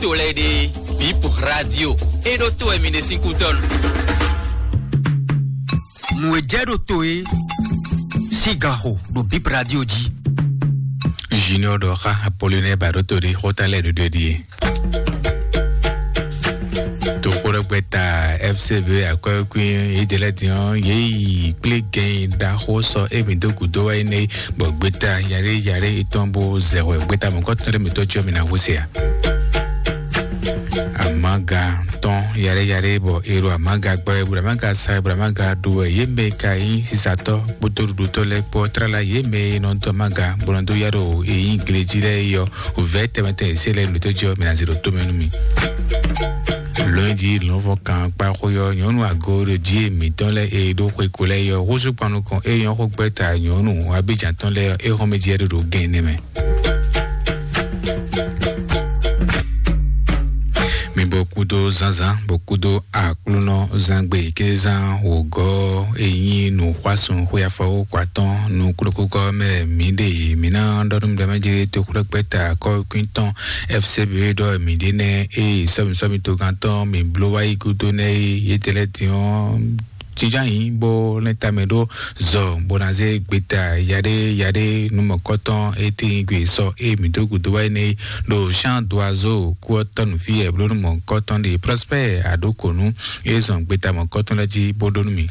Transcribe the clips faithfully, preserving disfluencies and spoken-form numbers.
To lɛ́ɛ ɖe, Bip Radio, é ɖó to wɛ mi ɖe sín kútɔ́nu. Nǔ e jɛ ɖo to e sín gan xo ɖo Bip Radio jí. Junior ɖɔ xá Apollinaire ba ɖo to ɖi xóta lɛ́ɛ ɖo ɖe ɖi. Toxoɖɔgbɛta F C B akwɛ́kún yědɛlɛ́ din ɔ́, yě yi kplé gɛn ɖaxó sɔ émí dó gǔdo wá énɛ́, bɔ gbeta yaɖé yaɖé etɔn bó zɛ hwɛ gbeta mɔ̌kɔtɔn ɖé mǐtɔn jí ɔ́, mi ná hú se ǎ. Amaga tɔn yaɖé yaɖé bɔ ero amaga gbɔ ebo amaga sa ebo amaga ɖo wɛ yě mɛ ka nyí sisatɔ kpódó ɖuɖutɔ lɛ́ɛ kpó tlala yě mɛ e nɔ dɔn amaga bó nɔ dó ya ɖo e nyí glejí lɛ́ɛ yɔ vɛ̌ tɛmɛtɛ e se lɛ́ɛ nǔɖé tó jí ɔ́, mi ná zé ɖo tó mɛ nú mi. Lɔ̌nyijǐ lɔ̌nfɔ́n kan kpá xó yɔ nyɔ̌nu ago ɖo jí mǐtɔn lɛ́ɛ e ɖó xwe ko lɛ́ɛ yɔ húzú kpan nukɔn e nyɔ́ xó gbɛ́ ta nyɔ̌nu abíjan tɔn lɛ́ɛ é xɔ́n mɛ jí ɛ ɖo ɖo gɛn nɛ mɛ. Mi bɔ kúdó zánzán bɔ kúdó aklúnɔ zángbe kézán wògɔ́ e nyí nǔxwásún xwé afɔwúkɔ atɔ́ɔ́n nú kúɖokúkɔ mɛ mǐ ɖe mǐ ná ɖɔ nú mǐɖɔmɛ jɛ toxwlɛ́gbɛ́ta kɔ́kwín tɔn F C B ɖɔ mǐ ɖe nɛ́ eye sɔ́mi sɔ́mi togán tɔn mǐ bló wá yi gúdo nɛ́ é yětɛlɛ́ din ɔ́ jínjɔ́n ayǐ bó lɛ́n tamɛ ɖó zɔ bó ná zé gbeta yaɖé yaɖé nú mɔ̌kɔtɔn e tíin gbe sɔ e mǐ dó gǔdo wá énɛ́ é ɖo Jean Doiseau kú ɔ́ tɔ́ nǔ fí wɛ bló nú mɔ̌kɔtɔn ɖe Prosper Aɖokonu e zɔn gbeta mɔ̌kɔtɔn lɛ́ɛ jí bó ɖó nú mì.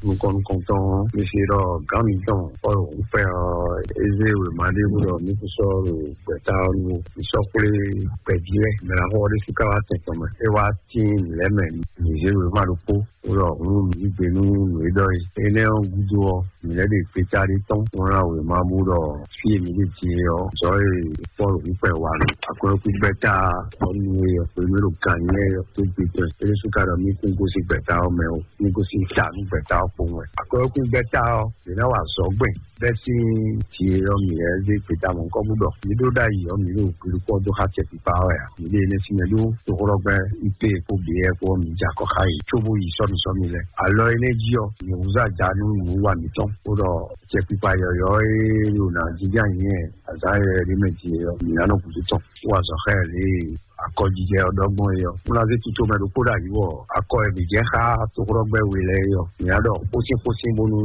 Nukɔn nukɔntɔn mi se ɖɔ gǎn mitɔn Pɔ́lu húnfɛ ɔ́, é zé wěma ɖé bó ɖɔ mí kún sɔ́ ɖo gbɛ̌ta ɔ́ nu ó. Mǐ sɔ́ xwlé gbɛ̌jí wɛ, mɛ ná xɔ ɔ́ ɖésú ká wá tɛn tɔn mɛ. É wá tíin nǔ lɛ́ɛ mɛ, mǐ zé wěma ɖokpó bó ɖɔ hǔn mǐ yí gbe nú nǔ e ɖɔ é. Énɛ́ ɔ́ gúdo ɔ́, mǐ lɛ́ ɖe gbeta ɖé tɔn bó ná wěma bó ɖɔ fí e mǐ ɖe din é ɔ́, zɔ̌ e Pɔ́lu húnfɛ wa nú akwɛ́kú gbɛ́ta ɔ́ nu é ɔ́, hwenu e ɖo gǎn nyí é ɔ́, tó gbe tɔn é ɖésú ká ɖɔ mí kún gosín gbɛ̌ta ɔ́ mɛ ó. Ní gosín ta nú gbɛ̌ta ɔ́ kpowun wɛ. Akwɛ́kú gbɛ́ta ɔ́, yě ná wa azɔ̌ gbɛn bɛ́ sín jǐ e ɔ́ mǐ lɛ́ zé gbeta mɔ̌hunkɔ́ bó ɖɔ mǐ ɖó ɖ'ayǐ ɔ́, mǐ ɖo hwiɖukpɔ́ dó xá tɛkpikpa ɔ́ wɛ a? Mǐ ɖe énɛ́ sín mɛ ɖó toxóɖɔgbɛ́ I P E kpó B E kpó ɔ́, mǐ jɛ akɔ xá yě cóbó yi sɔ́misɔ́mi lɛ́ɛ. Alɔ énɛ́ jí ɔ́, mǐ húzú aja nú nǔwiwa mǐtɔn, bó ɖɔ tɛkpikpa yɔ̌yɔ́ e ɖo nǎ jínjɔ́n ayǐ azǎn yɔ̌yɔ́ ɖé mɛ din é ɔ́, mǐ ná nɔ gǔdo tɔn. Wá azɔ̌ xá ɛ lě e akɔjijɛ ɔ́ ɖɔ gbɔn é ɔ́, un ná zé tito mɛ ɖokpó ɖo ayǐ wɔ akɔ e mǐ jɛ xá toxóɖɔgbɛ́ we lɛ́ɛ é ɔ́, mǐ ná ɖɔ xósín xósín bónú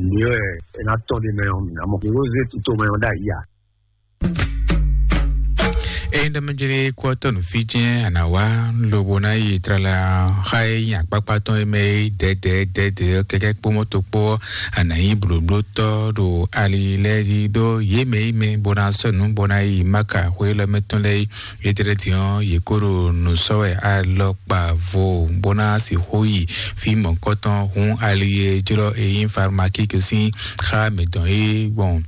nǔ e wɛ é ná tɔ́n ɖ'é mɛ ɔ́, mǐ ná mɔ. Mǐ ko zé tito mɛ ɔ́ ɖo ayǐ ǎ. Ényí ɖɔ mɛ jlé kú ɔ́ tɔ́ nǔ fí jɛ́n a nǎ wá lobo ná yi tlala xá e nyi akpákpá tɔn e mɛ é dɛ̌dɛ̌ dɛ̌dɛ̌ ɔ́ kɛ́kɛ́ kpó mɔ́to kpó ɔ́, a nǎ nyí blǒblótɔ́ ɖo ali lɛ́ɛ jí ɖó yě mɛ yi mɛ bó ná sɔ́ nǔ bó ná yi Maka xwé élɔ́ mɛ tɔn lɛ́ɛ yi. Yětɛ́lɛ́ din ɔ́, yě kó ɖo nǔ sɔ́ wɛ alɔkpa vo bó ná sixú yi fí mɔ̌kɔtɔn hún ali e jlɔ́ e nyí Farmakík sín xá mǐtɔn é gbɔn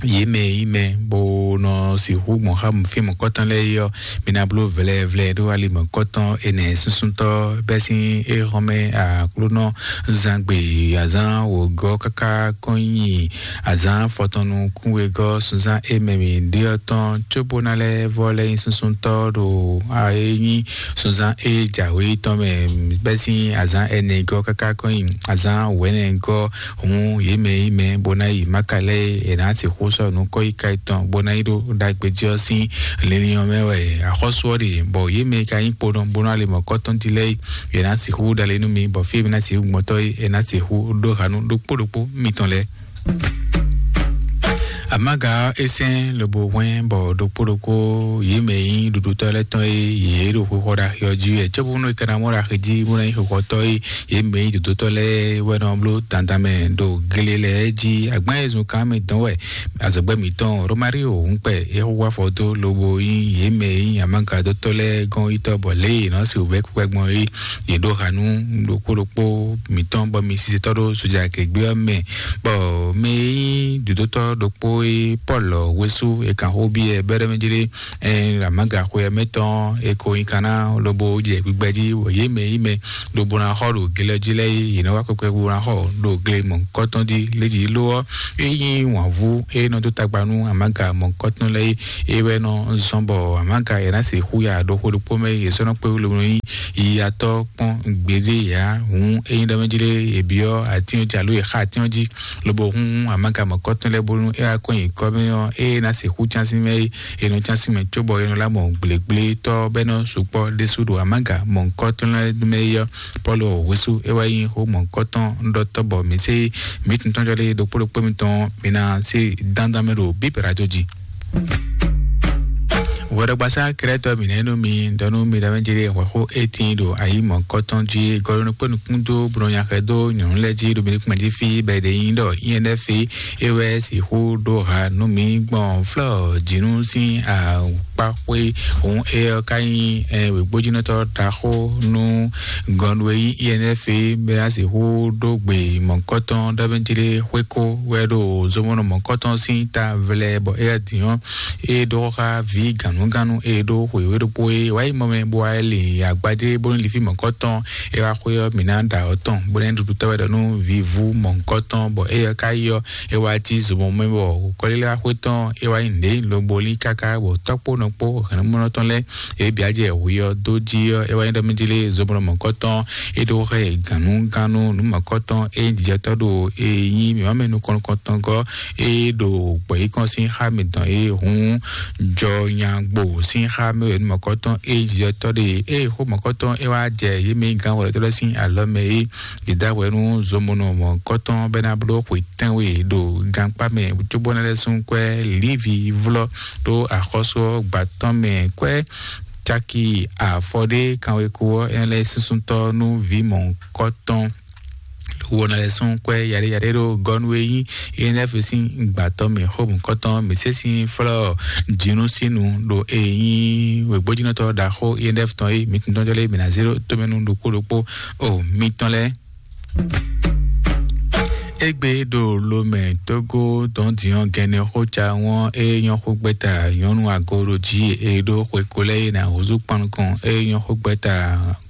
yě mɛ e nyí mɛ bó nɔ sixú gbɔn xá fí mɔ̌kɔtɔn lɛ́ɛ é ɔ́, mi ná bló vlɛvlɛ ɖó ali mɔ̌kɔtɔn ɛnɛ súnsúntɔ́ bɛ́ sín éhɔ́n mɛ Aklúnɔ zán gbe azán wǒgɔ́ káká kɔn nyi azán fɔtɔn nukún wegɔ́ sunzán e mɛ mǐ ɖe ɔ́ tɔn, cóbó ná lɛ́ vɔ́ lɛ́ nyí súnsúntɔ́ ɖo a e nyí sunzán e jǎwe tɔn mɛ bɛ́ sín azán ɛnɛ gɔ́ káká kɔn nyi azán wɛ̌nɛ gɔ́. Hǔn yě mɛ e nyí mɛ bó ná yi Maka lɛ́ɛ é, è nǎ sixú sɔ́ nǔ kɔ́yíká yětɔn bó ná yi ɖó ɖagbe jí ɔ́ sín linlin ɔ́ mɛ wɛ axɔ́sú ɔ́ ɖe, bɔ yě mɛ e ka nyí kponɔ bó ná le mɔ̌kɔ́tɔn jí lɛ́ɛ é, è nǎ sixú ɖalé nú mi, bɔ fí e mi ná sixú gbɔn tɔ́ é, è nǎ sixú ɖó ha nú ɖokpó ɖokpó mitɔn lɛ́ɛ. Amaga ɔ́, é sɛ́n lobo hwɛ́n bɔ ɖokpó ɖokpó yě mɛ e nyí ɖuɖutɔ́ lɛ́ɛ tɔn é, yě ɖo xwexɔ ɖaxi ɔ́ jí wɛ. Cóbónú è ka ná mɔ ɖaxi jí bó ná nyí xwexɔtɔ́ é, yě mɛ e nyí dodotɔ́ lɛ́ɛ wɛ nɔ bló dandan mɛ ɖo gle lɛ́ɛ jí. Agbán e zun kan mɛ dɔn wɛ azɔ̌gbɛ́ mǐtɔn Romario Húnkpɛ é xo wá afɔ dó lobo nyí yě mɛ e nyí amagadótɔ́ lɛ́ɛ gɔ́n yítɔ́ bɔ lě e è nɔ se wǔvɛ́ kpɛkpɛ gbɔn é, yě ɖó ha nú ɖokpó ɖokpó mǐtɔn bɔ mi sisɛtɔ́ ɖó soja kɛgbé ɔ́ mɛ, bɔ mɛ e nyí dodotɔ́ ɖokpó e Pɔ́lu wésú è kan xó byɔ́ ɛ bɛ́ ɖɔ mɛ jlé ɛ amaga xwe ɔ́ mɛ tɔn è ko nyi kan ná lobo jɛ gbigbɛ jí, bɔ yě mɛ yí mɛ lobo ná xɔ ɖo gle ɔ́ jí lɛ́ɛ é, yě nɔ wá kpɛkpɛ bó ná xɔ ɖo gle mɔ̌hunkɔtɔn jí lé jí ló ɔ́, é nyí wǎnvú e nɔ dó tagba nú amaga mɔ̌hunkɔtɔn lɛ́ɛ é, é wɛ nɔ zɔ́n bɔ amaga è ná se xú ya ɖo xó ɖokpó mɛ, yě sɔ́ nɔ kpé wúlomlɔ nyí yiyatɔ́ kpɔ́n gbeɖé yǎ. Hǔn ényí ɖɔ mɛ jí lé, yě byɔ́ atín ɔ́ jí alo yě xa atín ɔ́ jí, lobo hún amǎga mɔ̌kɔtɔn lɛ́ɛ bónú é wá kɔn nyi kɔ́ mɛ ɔ́, ée ná se xú cán sín mɛ é, è nɔ cán sín mɛ cóbɔ è nɔ lá mɔ gblégblétɔ́ bɔ é nɔ sukpɔ́ ɖésú ɖo amǎga mɔ̌kɔtɔn lɛ́ɛ mɛ é ɔ́, Pɔ́lu hwesú é wá nyí xó mɔ̌kɔtɔn ɖɔtɔ́ bɔ mǐ sé mǐ tuntɔ́njɔ lé ɖokpó ɖokpó mitɔn mi ná sí dandan mɛ ɖo bíbɛ́ radio jí. Wɛɖɔgbasá Krɛtɔ mǐnɛ́ nú mi ɖɔ nú mi ɖɔ mɛ jí ɖe hwɛxó étín ɖo ayi mɔ̌kɔtɔn jí gɔɖɔ nukpó nukún dó bló nyaxɛ dó nyɔ̌nu lɛ́ɛ jí ɖo mi nukún jí fí bɔ è ɖe nyi ɖɔ nyɛ ɖɛ́ fí é wɛ sixú ɖó ha nú mi gbɔn flɔ́ jǐnú sín akpáxwé. Hǔn é ɔ́ ka nyí wěgbójínɔtɔ́ ɖaxó nú gɔnu e nyí I N F é bɔ é ná sixú ɖó gbe mɔ̌kɔtɔn ɖɔ mɛ jí ɖe xwékó wɛ ɖo zomɔnɔ mɔ̌kɔtɔn sín ta vlɛ bɔ é wá din ɔ́ é ɖó xá vǐ gǎnugánú e ɖó xwěwé ɖokpó é wá yi mɔ mɛ bó wá lin agbadé bónú lifí mɔ̌kɔtɔn é wá xwé ɔ́ mǐ ná ɖa ɔ́ tɔn bó ná ɖuɖu tɔ́ wɛ ɖɔ nú vǐvú mɔ̌kɔtɔn bɔ é ɔ́ ka yi ɔ́ é wá cí zomɔ mɛ bɔ kɔlílá xwé tɔn é wá yi nǔɖé lobo lín káká bɔ tɔ́kpó nɔkpó hɛ̌nnumɔnɔ tɔn lɛ́ɛ é bǐ á jɛ hwi ɔ́ dó jí ɔ́ é wá nyí ɖɔ mí jí lé zomɔ mɔ̌kɔtɔn é ɖó xɛ gǎnugánú nǔ mɔ̌kɔtɔn é jijɛtɔ́ ɖo é nyí mǐmá mɛ nukɔn nukɔntɔn gɔ́ é ɖo gbɔ̌yíkɔn sín xá mǐtɔn é hun jɔ nyagbo sín xá mɛ wɛ nú mɔ̌kɔtɔn é jijɛtɔ́ ɖe é xó mɔ̌kɔtɔn é wá jɛ yě mɛ gán wɛ̌tɔ́ lɛ́ɛ sín alɔ mɛ é. Yě da hwɛ nú zomɔnɔ mɔ̌kɔtɔn bɔ é ná bló xwe tɛ́nwe ɖo gankpá mɛ cóbó ná lɛ́ sún kwɛ́ lívi vlɔ́ ɖó axɔ́sú ɔ́ gba tɔn mɛ kwɛ́ caki afɔ ɖé kanweko ɔ́ é ná lɛ́ súnsúntɔ́ nú vǐ mɔ̌kɔtɔn. Wo ná lɛ́ sún kwɛ́ yaɖé yaɖé ɖó gɔ́nú e nyí E N F sín gbǎtɔ́ mɛ xó mɔ̌kɔtɔn mǐ sé sín flɔ́ jǐnú sín nu ɖo e nyí wěgbójínɔtɔ́ ɖaxó E N F tɔn e mǐ tɔn jɔ lé mǐ ná zé ɖó tómɛnú ɖokpó ɖokpó o mitɔn lɛ́ɛ. Égbé ɖo lomɛ Tógó dɔn diɔn gɛnɛ xó ca wɔn e nyɔ xó gbɛta nyɔnu ago ɖo jí e ɖó xwe ko lɛ e na húzú kpan nukɔn e nyɔ xó gbɛta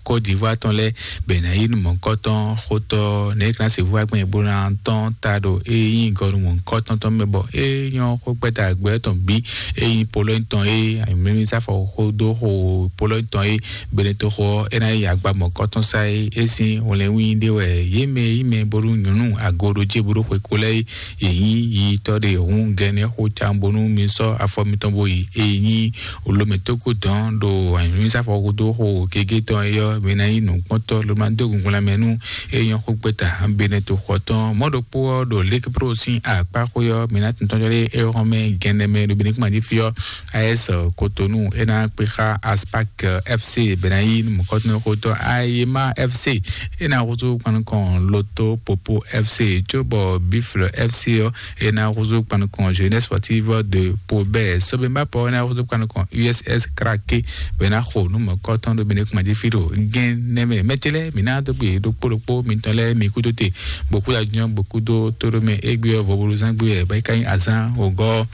Côte d'Ivoire tɔn lɛ bɛ na yi nu mɔkɔtɔn xótɔ ne kana se vu agbɛn bó na tɔn ta ɖo e nyi gɔnu mɔkɔtɔn tɔn mɛ bɔ e nyɔ xó gbɛta gbɛ tɔn bi e nyi Pologne tɔn e mimi sáfɔ xó dó xo Pologne tɔn e Benetoxo ɔ́, é ná yi agba mɔ̌kɔtɔn sá é. É sín hwlɛ́nwí ɖé wɛ yě mɛ yí mɛ bónú nyɔ̌nu ago ɖó jé bó ɖó xwe kó lɛ́ɛ é. Yě nyí yitɔ́ ɖe hǔn gɛnɛ xó can bónú mi sɔ́ afɔ mitɔn bó yi. É nyí olómɛtókó dɔn ɖo anyǔnúsáfɔ dó xo gégé tɔn é ɔ́, mi ná nyí nǔkpɔ́ntɔ́ ló ná dó gungun lanmɛ nú é nyɔ́ xó gbɛ́ta Benetoxo tɔn. Mɔ̌ ɖokpó ɔ́ ɖo Ligue Pro sín akpá xwé ɔ́, mi ná tuntɔ́n jɔ ɖé é xɔ́n mɛ gɛnɛ mɛ ɖo Benin kúma jí fí ɔ́. A S Cotonou é ná kpé xá Aspac F C bɛ ná yí mɔ̌kɔtɔnxotɔ́ Ayema F C é ná húzú kpan nukɔn Loto Popo F C cóbɔ Buffle F C ɔ́ é ná húzú kpan nukɔn Jeunesse Sportive de Pobɛ Sobemba Pɔ é ná húzú kpan nukɔn U S S Krake bɛ ná xo nú mɔ̌kɔtɔn ɖo Benin kúma jí fí ɖo gɛn nɛmɛ mɛtɛlɛ mǐ ná dó gbe ɖokpó ɖokpó mitɔn lɛ́ɛ mi kúdó te bɔkúdó ajúnyɔ bɔkúdó tóɖó mɛ égbé ɔ́ vɔbodozán gbé ɛ bɔ é ka nyí azán ògɔ́.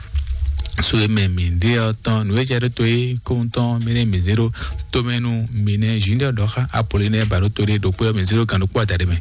So e mɛ mǐ ɖe ɔ́ tɔn nǔ e jɛ ɖó to é kóhun tɔn mi nɛ mǐ zé ɖó tomɛnu mi nɛ Junior ɖɔ xá Apollinaire ba ɖó to ɖé ɖokpó ɔ́ mi zé ɖó gǎn ɖokpó adaɖé mɛ.